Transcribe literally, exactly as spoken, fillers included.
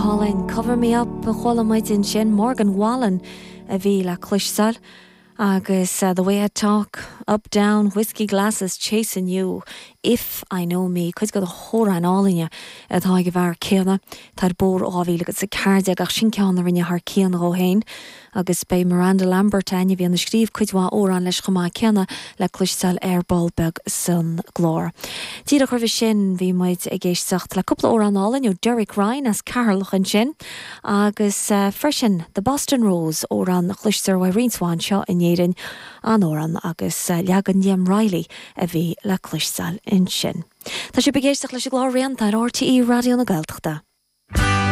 hálainn Cover Me Up a chuala muid ansin Morgan Wallen a bhí le cloisteáil. Agus uh, the way I talk, up down, whiskey glasses, chasing you, if I know me, cuid de na hamhráin áille atá ag an bhfear céanna Tá bór áhí agus sa ceirde ach sin ceann a rinne thar cionn dhó féin, agus beidh Miranda Lambert a bhí ag scríobh cuid mhaith amhrán leis chomh maith céanna le cloisteáil ar ball beag san gclár. Díreach roimhe sin bhí muid ag éisteacht le cúpla amhrán álainn ó Derek Ryan as Ceatharlach ansin, agus uh, freisin The Boston Rose amhrán a chloistear uaidh roinnt mhaith anseo in Éirinn an amhrán agus uh, leagan Liam Reilly a bhí le cloisteáil ansin. Tá sibh ag éisteacht leis an gclár Rianta ar RTÉ Raidió na Gaeltachta.